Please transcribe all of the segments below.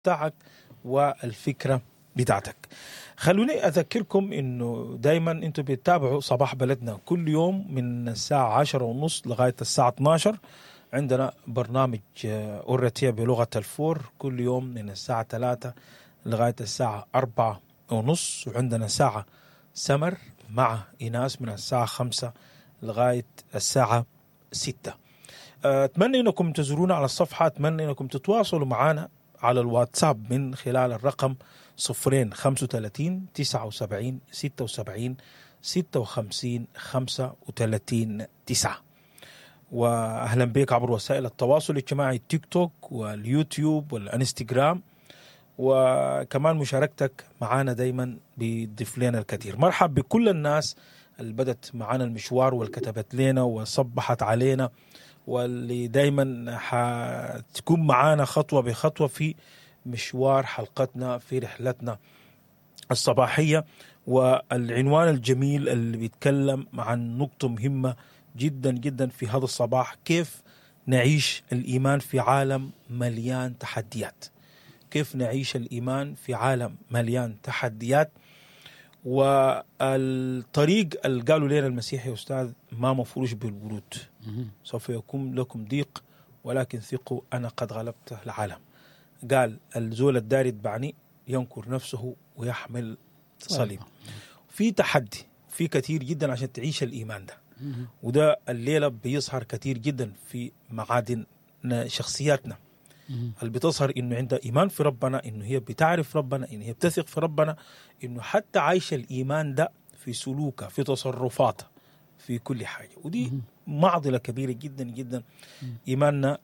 بتاعك والفكرة بتاعتك. خلوني أذكركم إنه دايما أنتم بتتابعوا صباح بلدنا كل يوم من الساعة 10:30 لغاية الساعة 12. عندنا برنامج أورتيا بلغة الفور كل يوم من الساعة 3 لغاية الساعة 4:30، وعندنا ساعة سمر مع إيناس من الساعة 5 لغاية الساعة 6. أتمنى أنكم تزورونا على الصفحة، أتمنى أنكم تتواصلوا معنا على الواتساب من خلال الرقم 0 35 79 76 56 35 9. وأهلا بك عبر وسائل التواصل الاجتماعي التيك توك واليوتيوب والانستغرام، وكمان مشاركتك معانا دايما بيضيف لنا الكثير. مرحب بكل الناس اللي بدت معانا المشوار والكتبت لنا وصبحت علينا، واللي دايما حتكون معانا خطوة بخطوة في مشوار حلقتنا في رحلتنا الصباحية. والعنوان الجميل اللي بيتكلم عن نقطة مهمة جدا جدا في هذا الصباح، كيف نعيش الإيمان في عالم مليان تحديات. كيف نعيش الإيمان في عالم مليان تحديات. والطريق اللي قالوا لنا المسيح يا أستاذ ما مفروش بالورود، سوف يكون لكم ضيق ولكن ثقوا أنا قد غلبت العالم. قال الزول الدار يتبعني ينكر نفسه ويحمل صليب. في تحدي، في كثير جدا عشان تعيش الإيمان ده، وده الليلة بيظهر كثير جدا في معادن شخصياتنا اللي بتظهر إنه عندها إيمان في ربنا، إنه هي بتعرف ربنا، إنه هي بتثق في ربنا، إنه حتى عايشة الإيمان ده في سلوكها، في تصرفاتها، في كل حاجة. ودي معضلة كبيرة جدا جدا. إيماننا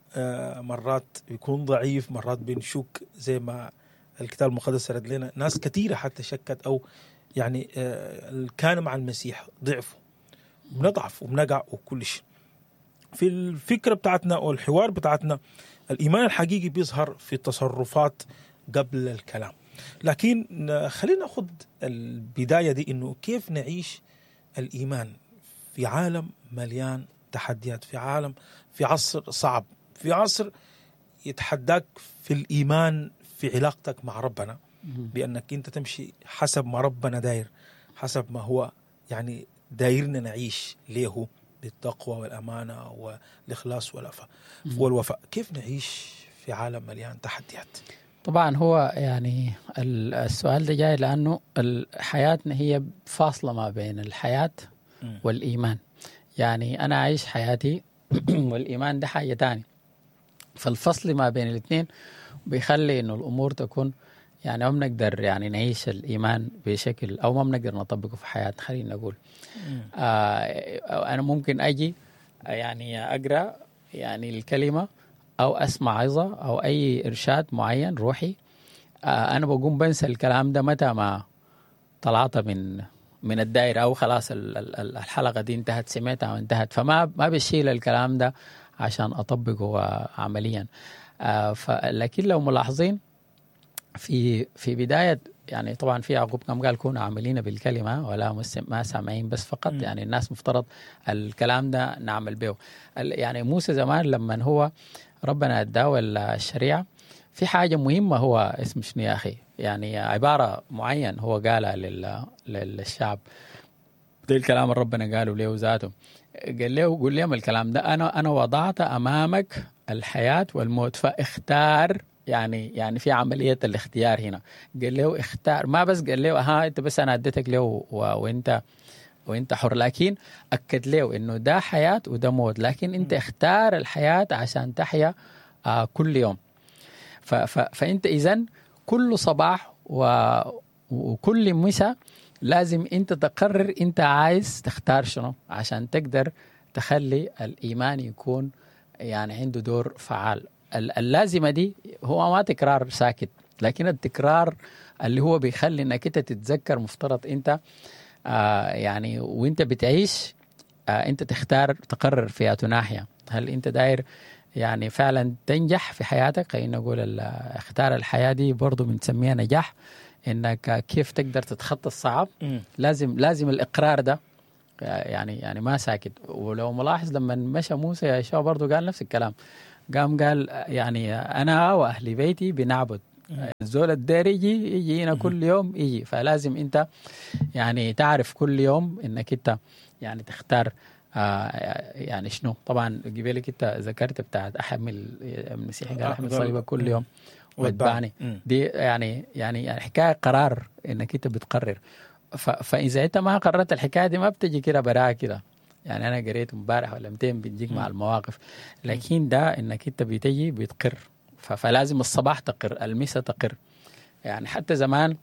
مرات بيكون ضعيف، مرات بنشك زي ما الكتاب المقدس سرد لنا ناس كثيرة حتى شكت، أو يعني كان مع المسيح ضعفوا، بنضعف وبنقع وكل شيء. في الفكرة بتاعتنا والحوار بتاعتنا الإيمان الحقيقي بيظهر في التصرفات قبل الكلام. لكن خلينا ناخذ البداية دي، إنه كيف نعيش الإيمان في عالم مليان تحديات، في عالم، في عصر صعب، في عصر يتحداك في الإيمان في علاقتك مع ربنا، بأنك أنت تمشي حسب ما ربنا داير، حسب ما هو يعني دايرنا نعيش ليه، بالتقوى والأمانة والإخلاص والوفاء. كيف نعيش في عالم مليان تحديات؟ طبعا هو يعني السؤال ده جاي لأنه حياتنا هي فاصلة ما بين الحياة والإيمان. يعني أنا عايش حياتي والإيمان ده حاجة تاني، فالفصل ما بين الاثنين بيخلي إنه الأمور تكون يعني ما بنقدر يعني نعيش الإيمان بشكل أو ما بنقدر نطبقه في حياتنا. خلينا نقول أنا ممكن أجي يعني أقرأ يعني الكلمة أو أسمع عظة أو أي إرشاد معين روحي، أنا بقوم بنسى الكلام ده متى ما طلعت من الدائرة، أو خلاص الحلقة دي انتهت، سمعتها وانتهت، فما ما بشيل الكلام ده عشان أطبقه عمليا. لكن لو ملاحظين في بداية يعني طبعا في يعقوب كم قال كونوا عاملين بالكلمة ولا ما سامعين بس فقط. يعني الناس مفترض الكلام ده نعمل به. يعني موسى زمان لما هو ربنا اداه الشريعة في حاجة مهمة، هو اسمه شنو يا أخي، يعني عبارة معين هو قالها للشعب، ده الكلام اللي ربنا قاله له ذاته، قال له قول لهم الكلام ده، أنا وضعت أمامك الحياة والموت فاختار. يعني في عملية الاختيار هنا، قال له اختار، ما بس قال له ها انت بس انا اديتك له وانت حر، لكن اكد له انه ده حياة وده موت، لكن انت اختار الحياة عشان تحيا كل يوم. فانت اذن كل صباح وكل مساء لازم انت تقرر انت عايز تختار شنو عشان تقدر تخلي الايمان يكون يعني عنده دور فعال. اللازمة دي هو ما تكرار ساكت، لكن التكرار اللي هو بيخلي انك انت تتذكر مفترض انت يعني وانت بتعيش انت تختار تقرر في ناحية، هل انت داير يعني فعلا تنجح في حياتك، خلينا نقول اختار الحياة دي برضو بنسميها نجاح، انك كيف تقدر تتخطى الصعب. لازم الاقرار ده يعني ما ساكت. ولو ملاحظ لما مشى موسى يا شباب برضو قال نفس الكلام، قام قال يعني أنا وأهل بيتي بنعبد الزول الداير يجي هنا كل يوم يجي. فلازم انت يعني تعرف كل يوم انك انت يعني تختار يعني شنو. طبعا قبلك انت ذكرت بتاعت احمل المسيح قال احمل صليبك كل يوم واتبعني. دي يعني حكاية قرار، انك انت بتقرر. فاذا انت ما قررت الحكاية دي ما بتجي كده براها كده. يعني انا قريت امبارح ولا 200 بتجيك مع المواقف، لكن ده انك انت بتجي بتقر. فلازم الصباح تقر، المساء تقر. يعني حتى زمان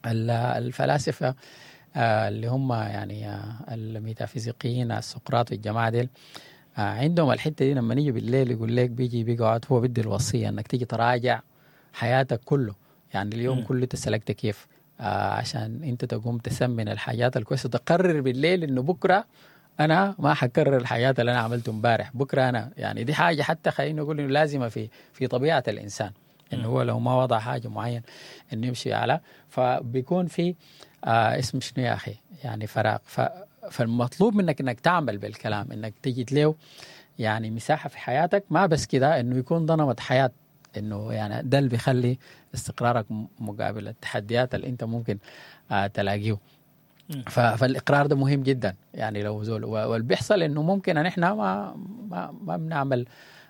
الفلاسفة اللي هم يعني الميتافيزيقيين السقراط والجماعة ديل عندهم الحتة دي، لما نيجي بالليل يقول لك بيجي بيقعد هو بدي الوصية انك تيجي تراجع حياتك كله، يعني اليوم كله انت سلكت كيف، عشان انت تقوم تسمن الحاجات الكويسة، تقرر بالليل انه بكره انا ما حكرر الحياة اللي انا عملته امبارح، بكره انا يعني دي حاجة حتى خلينا نقول انه لازمه في طبيعة الانسان، انه هو لو ما وضع حاجة معين انه يمشي على، فبيكون في اسم شنو يا اخي يعني فراغ. فالمطلوب منك انك تعمل بالكلام، انك تجد له يعني مساحة في حياتك، ما بس كده انه يكون ده نمط حياة، انه يعني ده اللي بيخلي استقرارك مقابل التحديات اللي انت ممكن تلاقيه. فالاقرار ده مهم جدا. يعني لو زول واللي بيحصل انه ممكن ان احنا ما ما ما بنعمل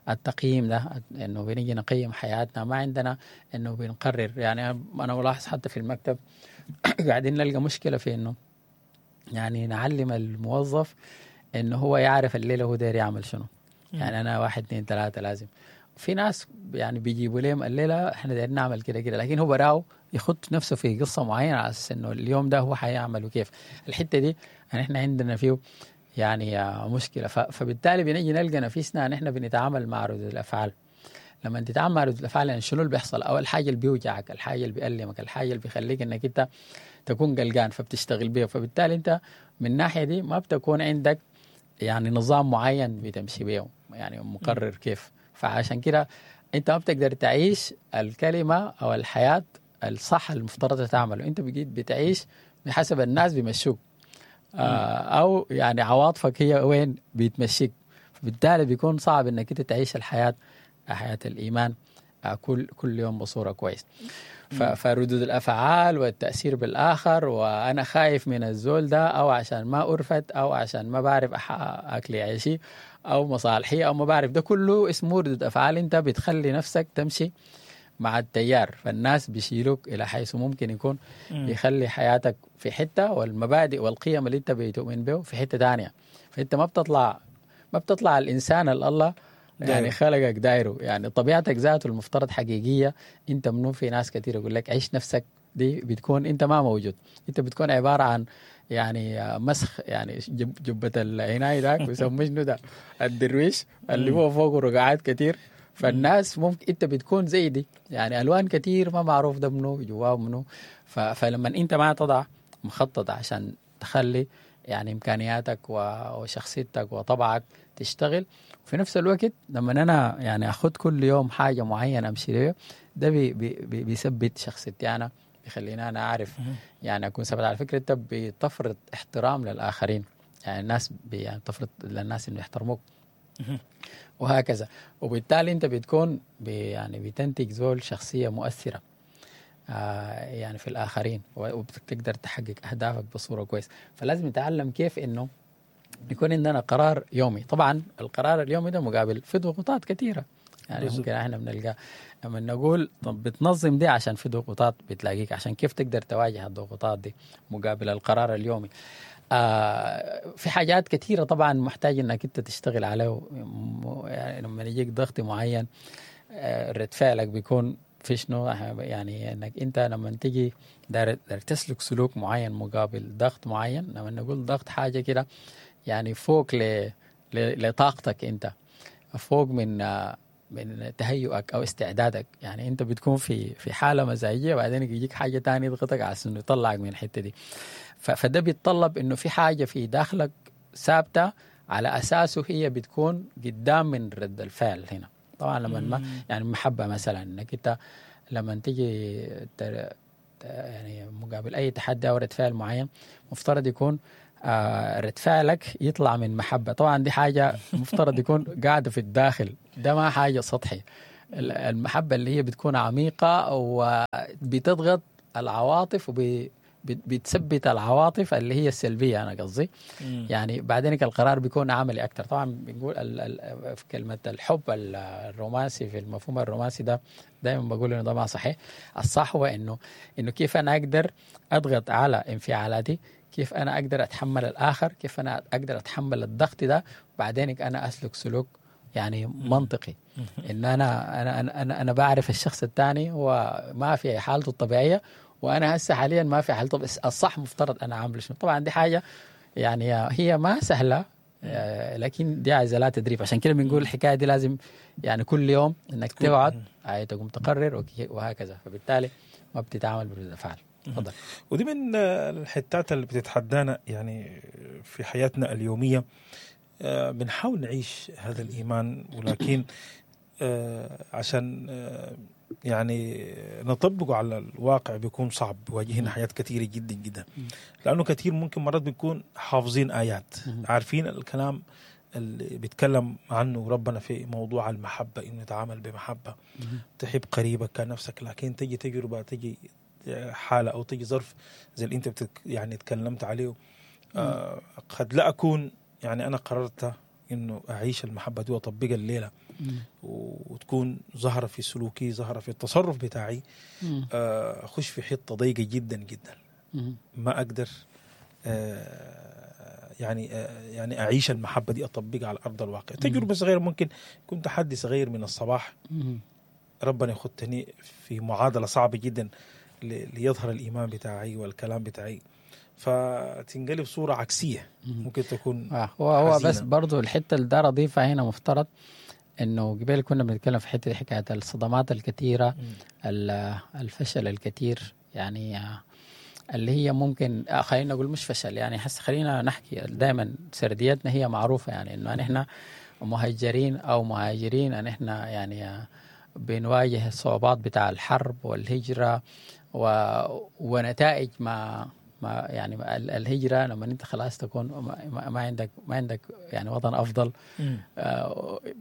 التقييم ده، انه بنيجي نقيم حياتنا، ما عندنا انه بنقرر. يعني انا ملاحظ حتى في المكتب قاعدين نلقى مشكلة في انه يعني نعلم الموظف انه هو يعرف الليلة هو داير يعمل شنو. يعني انا 1 2 3 لازم. في ناس يعني بيجيبوا لهم الليلة احنا دايرين نعمل كده كده، لكن هو براو يخط نفسه في قصة معينة على اساس انه اليوم ده هو حيعمل وكيف. الحتة دي يعني احنا عندنا فيه يعني مشكلة. فبالتالي بنيجي نلقى نفسنا ان احنا بنتعامل مع ردود الافعال. لما تتعامل مع ردود الافعال يعني شنو اللي بيحصل؟ اول حاجة اللي بيوجعك، الحاجة اللي بيألمك، الحاجة اللي بيخليك انك انت تكون قلقان، فبتشتغل بيه. فبالتالي انت من الناحية دي ما بتكون عندك يعني نظام معين بتمشي بيه، يعني مقرر كيف. فعشان كده انت ما بتقدر تعيش الكلمة او الحياة الصح المفترض تعمله، انت بقيت بتعيش بحسب الناس بيمشوك، او يعني عواطفك هي وين بيتمشيك. فبالتالي بيكون صعب انك انت تعيش الحياة، حياة الايمان كل يوم بصورة كويس. فردود الافعال والتاثير بالاخر، وانا خايف من الزول ده، او عشان ما ارفت، او عشان ما بعرف اكلي عيشي، او مصالحي، او ما بعرف، ده كله اسمه ردود افعال. انت بتخلي نفسك تمشي مع التيار، فالناس بيشيلوك الى حيث ممكن يكون بيخلي حياتك في حتة، والمبادئ والقيم اللي انت بتؤمن به في حتة ثانية. فانت ما بتطلع الانسان اللي الله يعني خلقك دايرة، يعني طبيعتك ذاته المفترض حقيقية انت منو. في ناس كثير يقول لك عيش نفسك، دي بتكون انت ما موجود، انت بتكون عبارة عن يعني مسخ، يعني جبه العناية ذاك بيسموه شنو ده، الدرويش اللي هو فوقه رقعات كثير. فالناس ممكن انت بتكون زي دي، يعني الوان كثير ما معروف ده منو جواه منو. فلما انت ما تضع مخطط عشان تخلي يعني امكانياتك وشخصيتك وطبعك تشتغل، وفي نفس الوقت لما انا يعني اخذ كل يوم حاجة معينة امشي ليه، ده بي بي بيثبت شخصيتي انا، بيخليني انا اعرف يعني اكون ثابت. على فكرة انت بتفرض احترام للاخرين، يعني الناس يعني تفرض للناس انه يحترموك وهكذا، وبالتالي انت بتكون يعني بتنتج زول شخصية مؤثرة يعني في الاخرين، وبتقدر تحقق اهدافك بصورة كويس. فلازم نتعلم كيف انه يكون عندنا قرار يومي. طبعا القرار اليومي ده مقابل في ضغوطات كثيرة، يعني بالزبط. ممكن احنا بنلقى لما نقول طب بتنظم دي عشان في ضغوطات بتلاقيك، عشان كيف تقدر تواجه الضغوطات دي مقابل القرار اليومي. في حاجات كثيرة طبعا محتاج انك انت تشتغل عليه. يعني لما يجيك ضغط معين رد فعلك بيكون في شنو، يعني انك انت لما تيجي داير تسلك سلوك معين مقابل ضغط معين. لما نقول ضغط حاجة كده يعني فوق لطاقتك انت، فوق من تهيؤك او استعدادك. يعني انت بتكون في حاله مزاجيه، وبعدين يجيك حاجة ثانية يضغطك على انه يطلعك من الحتة دي. فده بيتطلب انه في حاجة في داخلك ثابتة على اساسه هي بتكون قدام من رد الفعل هنا. طبعا لما ما يعني المحبة مثلا، انك انت لما تيجي يعني مقابل اي تحدي او رد فعل معين، مفترض يكون رد فعلك يطلع من محبة. طبعا دي حاجة مفترض يكون قاعدة في الداخل، ده ما حاجة سطحي. المحبة اللي هي بتكون عميقة وبتضغط العواطف وبتثبت العواطف اللي هي السلبية، انا قصدي يعني بعدين القرار بيكون عملي اكثر. طبعا بنقول في كلمة الحب الرومانسي، في المفهوم الرومانسي ده دائما بقول انه ده ما صحيح. الصح هو انه كيف انا اقدر اضغط على انفعالاتي، كيف انا اقدر اتحمل الاخر، كيف انا اقدر اتحمل الضغط ده، بعدين انا اسلك سلوك يعني منطقي، ان انا انا انا انا, أنا بعرف الشخص الثاني هو ما في حالته الطبيعية، وانا هسه حاليا ما في حالته، بس الصح مفترض انا اعمل شنو. طبعا دي حاجة يعني هي ما سهلة، لكن دي عايزه لها تدريب. عشان كده بنقول الحكاية دي لازم يعني كل يوم انك تقعد تقوم تقرر وهكذا، فبالتالي ما بتتعامل بردود افعال. تفضل. ودي من الحتات اللي بتتحدانا يعني في حياتنا اليومية. بنحاول نعيش هذا الايمان، ولكن عشان يعني نطبقه على الواقع بيكون صعب، بيواجهنا حاجات كثيرة جدا جدا، لأنه كثير ممكن مرات بنكون حافظين آيات، عارفين الكلام اللي بيتكلم عنه ربنا في موضوع المحبة، إنه نتعامل بمحبة، تحب قريبك كنفسك، لكن تجي تجربة، تجي حالة أو تجي ظرف زي اللي أنت يعني تكلمت عليه، قد لا أكون يعني أنا قررت إنه أعيش المحبة دي وأطبقها الليلة وتكون ظاهرة في سلوكي، ظاهرة في التصرف بتاعي، أخش في حتة ضيقة جدا جدا، ما أقدر يعني أعيش المحبة دي أطبقها على أرض الواقع. تجربة صغيرة ممكن يكون تحدي صغير من الصباح، ربنا يخدني في معادلة صعبة جدا ليظهر الإيمان بتاعي والكلام بتاعي، فتنقلب صورة عكسية ممكن تكون هو بس برضو الحتة اللي دار أضيفها هنا، مفترض إنه قبل كنا بنتكلم في حتة حكاية الصدمات الكثيرة، الفشل الكثير، يعني اللي هي ممكن خلينا نقول مش فشل، يعني حس خلينا نحكي دائما سرديتنا هي معروفة، يعني إنه نحن مهجرين أو مهاجرين، نحن يعني بنواجه الصعوبات بتاع الحرب والهجرة ونتائج ما يعني الهجرة، لما انت خلاص تكون ما عندك يعني وطن افضل.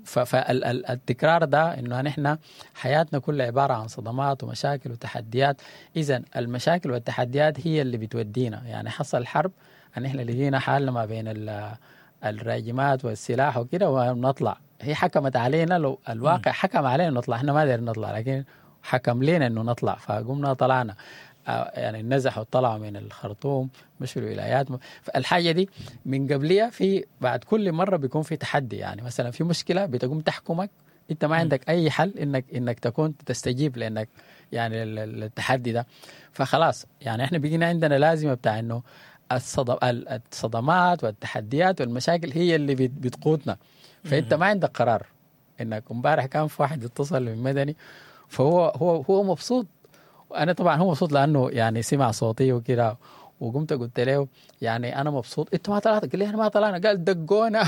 فالتكرار ده انه نحن حياتنا كلها عبارة عن صدمات ومشاكل وتحديات. اذا المشاكل والتحديات هي اللي بتودينا، يعني حصل حرب نحن لقينا حالنا ما بين الراجمات والسلاح وكده ونطلع، هي حكمت علينا، لو الواقع حكم علينا نطلع، احنا ما قدرنا نطلع لكن حكم لنا انه نطلع، فقمنا طلعنا، يعني نزحوا طلعوا من الخرطوم مشوا الولايات. فالحاجة دي من قبلها في بعد كل مرة بيكون في تحدي، يعني مثلا في مشكلة بتقوم تحكمك، انت ما عندك اي حل انك تكون تستجيب لانك يعني التحدي ده. فخلاص يعني احنا بقينا عندنا لازمة بتاع انه الصدمات والتحديات والمشاكل هي اللي بتقودنا، فانت ما عندك قرار. انك امبارح كان في واحد اتصل من مدني، فهو هو هو مبسوط، انا طبعا هو مبسوط لانه يعني سمع صوتي وكده، وقمت قلت له يعني انا مبسوط، انت ما طلعت؟ قال لي احنا ما طلعنا، قال دقونا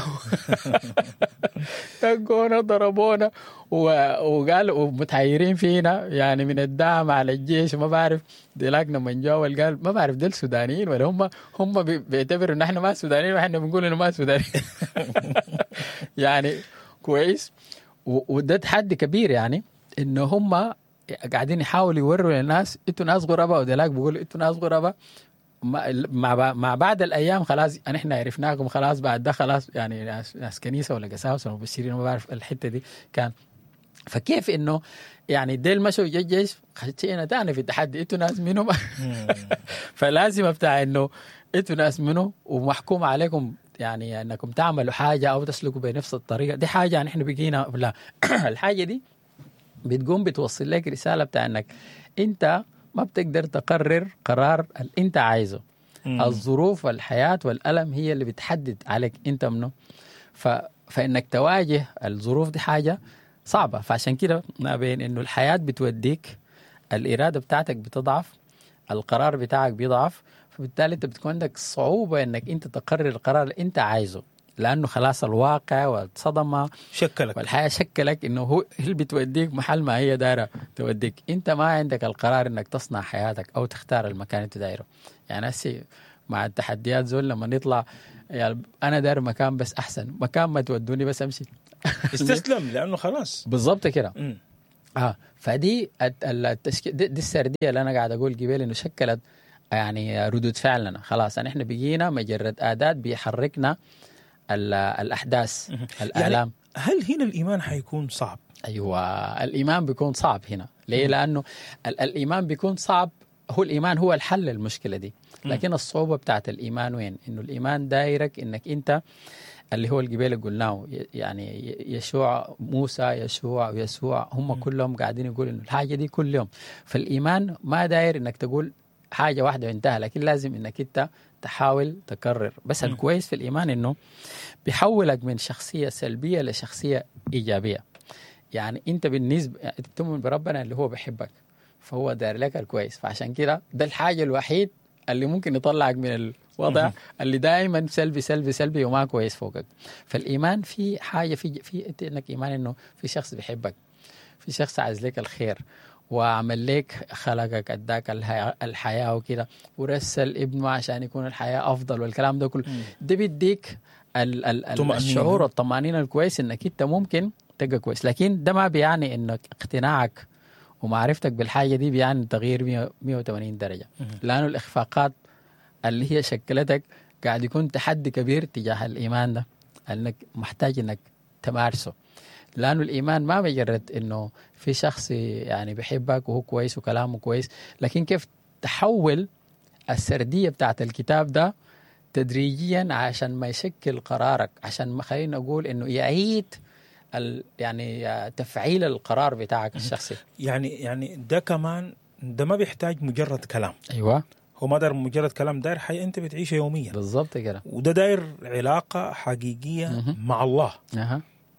دقونا ضربونا وقال ومتحيرين فينا يعني من الدعم على الجيش وما بعرف. ديلاك لما جاوا قال ما بعرف دول سودانيين ولا هم بيعتبروا ان احنا ما سودانيين واحنا بنقول انه ما سودانيين يعني كويس. وده تحدي كبير، يعني انه هم قاعدين يحاولوا يوروا للناس انتوا ناس غرباء، ودلاك بيقولوا انتوا ناس غرباء. مع بعد الايام خلاص احنا عرفناكم، خلاص بعد ده خلاص يعني ناس كنيسة ولا قساوسه ولا مبشرين ما بعرف الحتة دي كان. فكيف انه يعني ديل مشوا الجيش خشينا تاني في التحدي، انتوا ناس منهم فلازم بتاع انه انتوا ناس منه ومحكوم عليكم يعني انكم تعملوا حاجة او تسلكوا بنفس الطريقة دي. حاجة يعني احنا بقينا لا الحاجة دي بتقوم بتوصل لك رسالة بتاع انك انت ما بتقدر تقرر قرار اللي انت عايزه. الظروف والحياة والألم هي اللي بتحدد عليك انت منه. فإنك تواجه الظروف دي حاجة صعبة. فعشان كده ما بين انه الحياة بتوديك، الإرادة بتاعتك بتضعف، القرار بتاعك بيضعف، فبالتالي انت بتكون عندك صعوبة انك انت تقرر القرار اللي انت عايزه، لأنه خلاص الواقع والصدمة شكلك والحياة شكلك إنه هو اللي بتوديك محل ما هي دايرة توديك. أنت ما عندك القرار إنك تصنع حياتك أو تختار المكان اللي دايرة. يعني هسي مع التحديات زول لما نطلع يعني أنا داير مكان بس أحسن مكان ما تودوني بس أمشي استسلم لأنه خلاص بالضبط كده. فدي التشكيل، دي السردية اللي انا قاعد اقول قبل انه شكلت يعني ردود فعلنا. خلاص احنا بقينا مجرد اداه بيحركنا الاحداث، الالام. يعني هل هنا الايمان حيكون صعب؟ ايوه، الايمان بيكون صعب هنا. ليه؟ لانه الايمان بيكون صعب. هو الايمان هو الحل للمشكلة دي، لكن الصعوبة بتاعت الايمان وين؟ انه الايمان دايرك انك انت اللي هو القبيل اللي قلناه، يعني يشوع، موسى، يشوع ويسوع، هم كلهم قاعدين يقولوا انه الحاجة دي كل يوم. فالايمان ما داير انك تقول حاجة واحدة وانتهى، لكن لازم انك انت تحاول تكرر. بس الكويس في الايمان انه بيحولك من شخصية سلبية لشخصية ايجابية. يعني انت بالنسبة انت بتؤمن بربنا اللي هو بيحبك، فهو داير لك الكويس، فعشان كده ده الحاجة الوحيد اللي ممكن يطلعك من الوضع اللي دائما سلبي سلبي سلبي وما كويس فوقك. فالايمان في حاجة في انت انك ايمان انه في شخص بيحبك، في شخص عايز لك الخير وعمل لك، خلقك، اداك الحياة وكده، ورسل ابنه عشان يكون الحياة افضل والكلام ده كله. ده بيديك الشعور والطمانينة الكويس انك انت ممكن تبقى كويس. لكن ده ما بيعني انك اقتناعك ومعرفتك بالحاجة دي بيعني تغيير 180 درجه، لانه الاخفاقات اللي هي شكلتك قاعد يكون تحدي كبير تجاه الايمان ده، انك محتاج انك تمارسه. لانه الايمان ما مجرد انه في شخص يعني بيحبك وهو كويس وكلامه كويس، لكن كيف تحول السردية بتاعت الكتاب ده تدريجيا عشان ما يشكل قرارك، عشان ما خلينا نقول انه يعيد يعني تفعيل القرار بتاعك الشخصي. يعني ده كمان ده ما بيحتاج مجرد كلام. ايوه، هو ما داير مجرد كلام، داير حياة انت بتعيشها يوميا. بالضبط كده. وده داير علاقة حقيقية مع الله.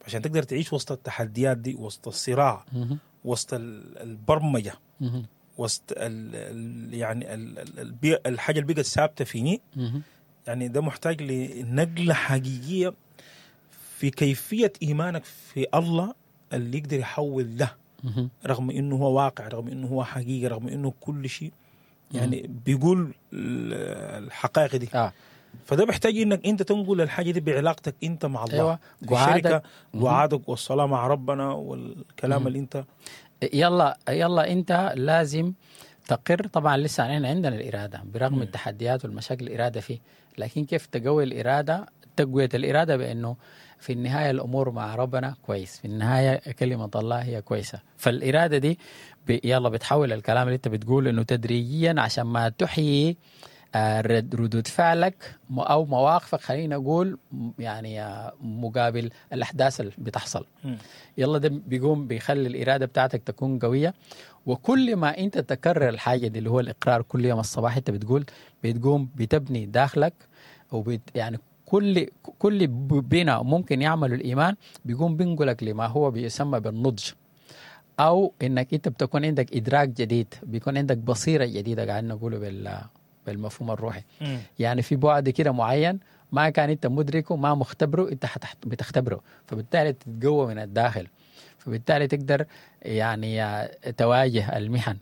عشان تقدر تعيش وسط التحديات دي، وسط الصراع، وسط البرمجة، وسط يعني الحاجة اللي بقت ثابتة فيني. يعني ده محتاج لنقلة حقيقية في كيفية إيمانك في الله اللي يقدر يحول ده، رغم إنه هو واقع، رغم إنه هو حقيقة، رغم إنه كل شيء يعني بيقول الحقائق دي. فده بيحتاج إنك أنت تنقل الحاجة دي بعلاقتك أنت مع الله. أيوة. الشركة وعادك والصلاة مع ربنا والكلام اللي أنت يلا أنت لازم تقر. طبعا لسه احنا عندنا الإرادة برغم التحديات والمشاكل، الإرادة فيه، لكن كيف تقوي الإرادة؟ تقوية الإرادة بأنه في النهاية الأمور مع ربنا كويس، في النهاية كلمة الله هي كويسة. فالإرادة دي يلا بتحول الكلام اللي أنت بتقول إنه تدريجيا عشان ما تحيي ردود فعلك أو مواقفك، خلينا نقول يعني مقابل الأحداث اللي بتحصل. يلا ده بيقوم بيخلي الإرادة بتاعتك تكون قوية. وكل ما أنت تكرر الحاجة دي اللي هو الإقرار كل يوم الصباح، أنت بتقول بتقوم بتبني داخلك، وبت يعني كل بنا ممكن يعمل الإيمان بيقوم بينقلك لما هو بيسمى بالنضج، أو إنك أنت بتكون عندك إدراك جديد، بيكون عندك بصيرة جديدة، قاعد نقوله بالمفهوم الروحي. يعني في بعد كده معين ما كان أنت مدركه، ما مختبره، أنت بتختبره، فبالتالي تتقوى من الداخل، فبالتالي تقدر يعني تواجه المحن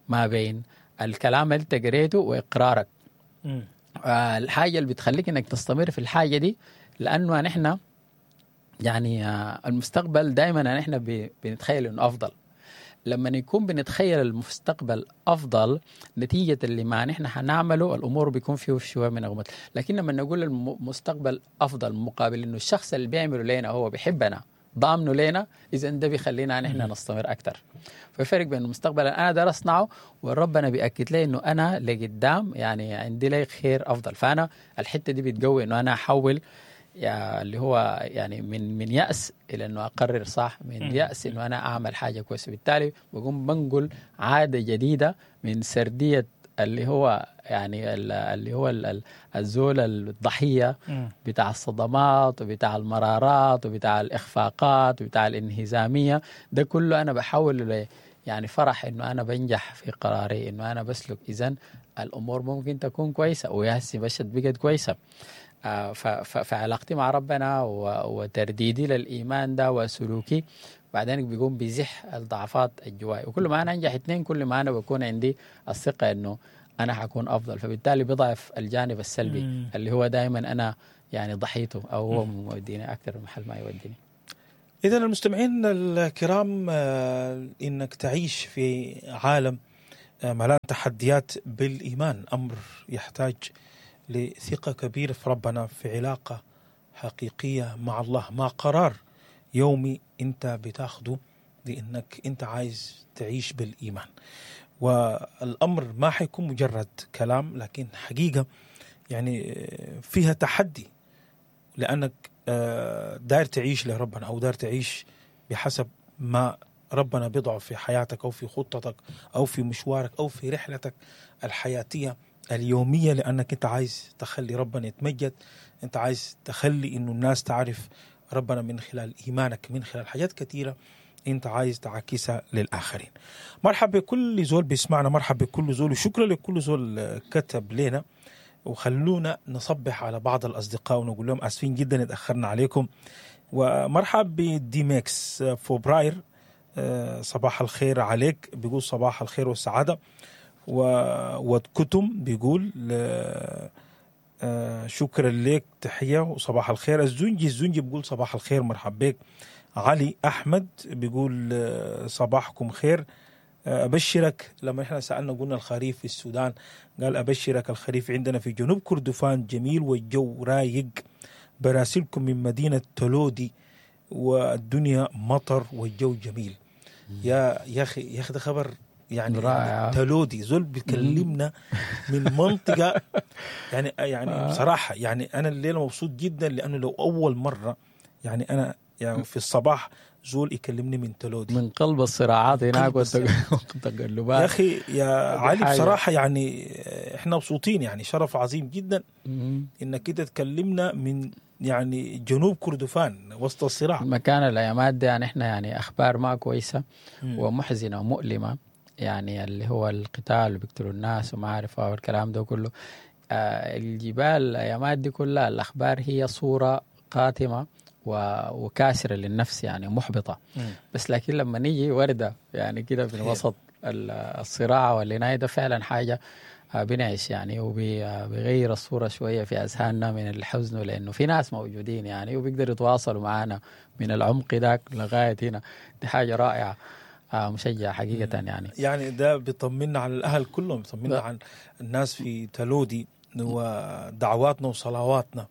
ما بين الكلام اللي أنت قريته وإقرارك. الحاجة اللي بتخليك انك تستمر في الحاجة دي، لأنه نحن يعني المستقبل دائما نحن بنتخيل انه أفضل. لما يكون بنتخيل المستقبل أفضل نتيجة اللي ما نحن حنعمله الأمور بيكون فيه شوية من غموض. لكن لما نقول المستقبل أفضل مقابل إنه الشخص اللي بيعمله لنا هو بيحبنا ضامنه لنا، إذا ده بيخلينا نحن نستمر أكتر. ففرق بين المستقبل أنا دار أصنعه وربنا بيأكد لي إنه أنا لقدام يعني عندي لي خير أفضل. فأنا الحتة دي بتقوي إنه أنا أحول يا اللي هو يعني من يأس إلى إنه أقرر صح، من يأس إنه أنا أعمل حاجة كويسة. بالتالي بقوم بنقل عادة جديدة من سردية اللي هو يعني اللي هو الزول الضحية بتاع الصدمات وبتاع المرارات وبتاع الإخفاقات وبتاع الانهزامية. ده كله أنا بحاول يعني فرح إنه أنا بنجح في قراري، إنه أنا بسلك، إذن الأمور ممكن تكون كويسة، ويا بشت بقت كويسة. فعلاقتي مع ربنا وترديدي للإيمان ده وسلوكي بعدين بيقوم بيزح الضعفات الجواي. وكل ما أنا أنجح اثنين كل ما أنا بكون عندي الثقة إنه أنا حكون أفضل، فبالتالي بضعف الجانب السلبي اللي هو دائما أنا يعني ضحيته أو هو موديني أكثر محل ما يوديني. إذا المستمعين الكرام، إنك تعيش في عالم ملان تحديات بالإيمان أمر يحتاج لثقة كبيرة في ربنا، في علاقة حقيقية مع الله، مع قرار يومي أنت بتاخده لأنك أنت عايز تعيش بالإيمان. والأمر ما حيكون مجرد كلام، لكن حقيقة يعني فيها تحدي، لأنك داير تعيش لربنا أو داير تعيش بحسب ما ربنا بيضعه في حياتك أو في خطتك أو في مشوارك أو في رحلتك الحياتية اليومية، لأنك أنت عايز تخلي ربنا يتمجد، أنت عايز تخلي إنه الناس تعرف ربنا من خلال إيمانك، من خلال حاجات كثيرة أنت عايز تعكسها للآخرين. مرحبا بكل زول بيسمعنا، مرحبا بكل زول، وشكرا لكل زول كتب لنا. وخلونا نصبح على بعض الأصدقاء ونقول لهم آسفين جدا اتأخرنا عليكم. ومرحب بديميكس فبراير، صباح الخير عليك، بيقول صباح الخير والسعادة. وكتم بيقول شكرا لك، تحية وصباح الخير. الزنجي بيقول صباح الخير، مرحب بك. علي أحمد بيقول صباحكم خير. أبشرك، لما إحنا سألنا قلنا الخريف في السودان، قال أبشرك الخريف عندنا في جنوب كردفان جميل والجو رايق، براسلكم من مدينة تلودي والدنيا مطر والجو جميل. يا أخي ده خبر يعني رائع. تلودي زول بيكلمنا من منطقة يعني بصراحة يعني أنا الليلة مبسوط جدا، لأنه لو أول مرة يعني أنا يعني في الصباح زول يكلمني من تلودي، من قلب الصراعات هناك والتقلبات. يا أخي يا علي بصراحة يعني إحنا مبسوطين، يعني شرف عظيم جدا إنك كده تكلمنا من يعني جنوب كردفان وسط الصراع. مكان الأيامات دي يعني إحنا يعني أخبار ما كويسة ومحزنة ومؤلمة، يعني اللي هو القتال وبيقتلوا الناس وما عارفة والكلام ده كله. الجبال الأيامات دي كلها الأخبار هي صورة قاتمة وكاسرة للنفس يعني محبطة. بس لكن لما نيجي وردة يعني كده في وسط الصراع والعناية ده فعلا حاجة بنعيش يعني، وبيغير الصورة شوية في أذهاننا من الحزن، لأنه في ناس موجودين يعني وبيقدروا يتواصلوا معنا من العمق ذاك لغاية هنا. دي حاجة رائعة مشجعة حقيقة يعني. يعني ده بيطمنا على الأهل كلهم، بيطمنا على الناس في تلودي، ودعواتنا وصلواتنا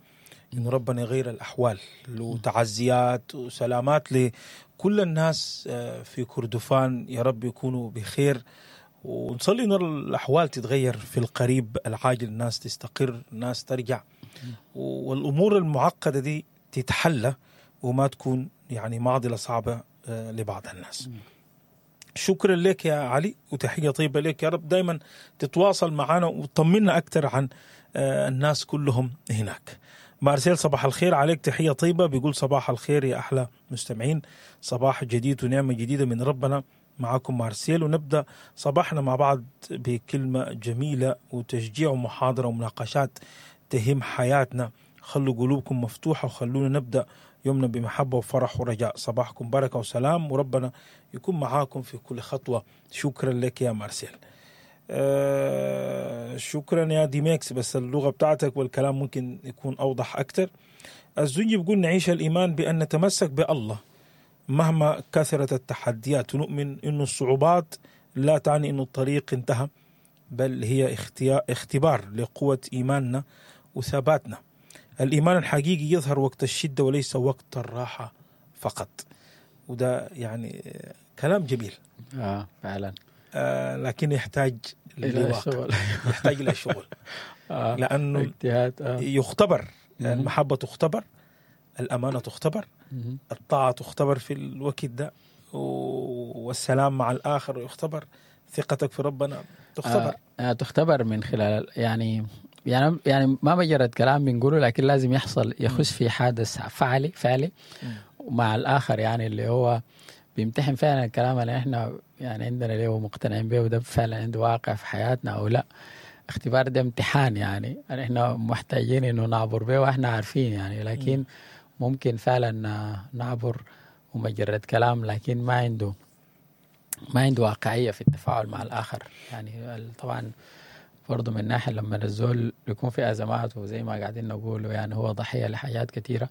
إنه ربنا يغير الأحوال، وتعزيات وسلامات لكل الناس في كردفان، يا رب يكونوا بخير، ونصلي إن الأحوال تتغير في القريب العاجل، الناس تستقر، الناس ترجع، والأمور المعقدة دي تتحلى وما تكون يعني معضلة صعبة لبعض الناس. شكرا لك يا علي، وتحية طيبة لك، يا رب دايما تتواصل معنا وتطمنا أكثر عن الناس كلهم هناك. مارسيل صباح الخير عليك، تحية طيبة، بيقول صباح الخير يا أحلى مستمعين، صباح جديد ونعمة جديدة من ربنا. معكم مارسيل، ونبدأ صباحنا مع بعض بكلمة جميلة وتشجيع ومحاضرة ومناقشات تهم حياتنا. خلوا قلوبكم مفتوحة وخلونا نبدأ يومنا بمحبة وفرح ورجاء. صباحكم بركة وسلام، وربنا يكون معاكم في كل خطوة. شكرا لك يا مارسيل. شكرا يا ديميكس، بس اللغة بتاعتك والكلام ممكن يكون أوضح أكتر. الزنجي بيقول نعيش الإيمان بأن نتمسك بالله مهما كثرت التحديات، ونؤمن أن الصعوبات لا تعني أن الطريق انتهى، بل هي اختبار لقوة إيماننا وثباتنا. الإيمان الحقيقي يظهر وقت الشدة وليس وقت الراحة فقط. وده يعني كلام جميل فعلا، لكن يحتاج لواقع، يحتاج إلى شغل. لأنه يختبر، المحبة تختبر، الأمانة تختبر، الطاعة تختبر في الوقت ده، والسلام مع الآخر يختبر، ثقتك في ربنا تختبر. تختبر من خلال يعني ما مجرد كلام بنقوله، لكن لازم يحصل، يخش في حادث فعلي مع الآخر، يعني اللي هو بيمتحن فعلا الكلام اللي احنا يعني عندنا ليه مقتنعين به، وده فعلا عنده واقع في حياتنا او لا. اختبار ده امتحان يعني احنا محتاجين انه نعبر به واحنا عارفين يعني، لكن ممكن فعلا نعبر ومجرد كلام، لكن ما عنده واقعية في التفاعل مع الآخر يعني. طبعا برضو من ناحية لما الزول يكون في أزمات وزي ما قاعدين نقول يعني هو ضحية لحاجات كثيرة،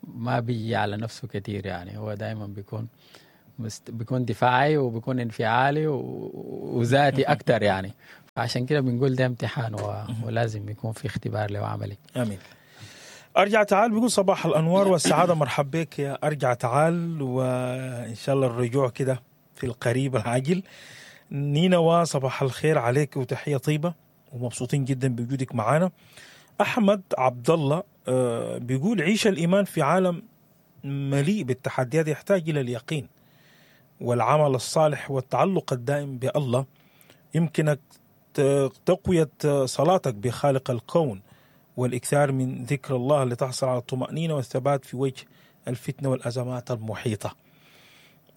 ما بيجي على نفسه كثير، يعني هو دائما بيكون دفاعي وبيكون انفعالي وذاتي أكثر يعني. عشان كده بنقول ده امتحان ولازم يكون في اختبار له عملي. آمين. أرجع تعال بيقول صباح الأنوار والسعادة، مرحب بك يا أرجع تعال، وإن شاء الله الرجوع كده في القريب العاجل. نينوى صباح الخير عليك وتحية طيبة ومبسوطين جدا بوجودك معانا. أحمد عبد الله بيقول عيش الإيمان في عالم مليء بالتحديات يحتاج إلى اليقين والعمل الصالح والتعلق الدائم بالله. يمكنك تقوية صلاتك بخالق الكون والإكثار من ذكر الله لتحصل على الطمأنينة والثبات في وجه الفتنة والأزمات المحيطة.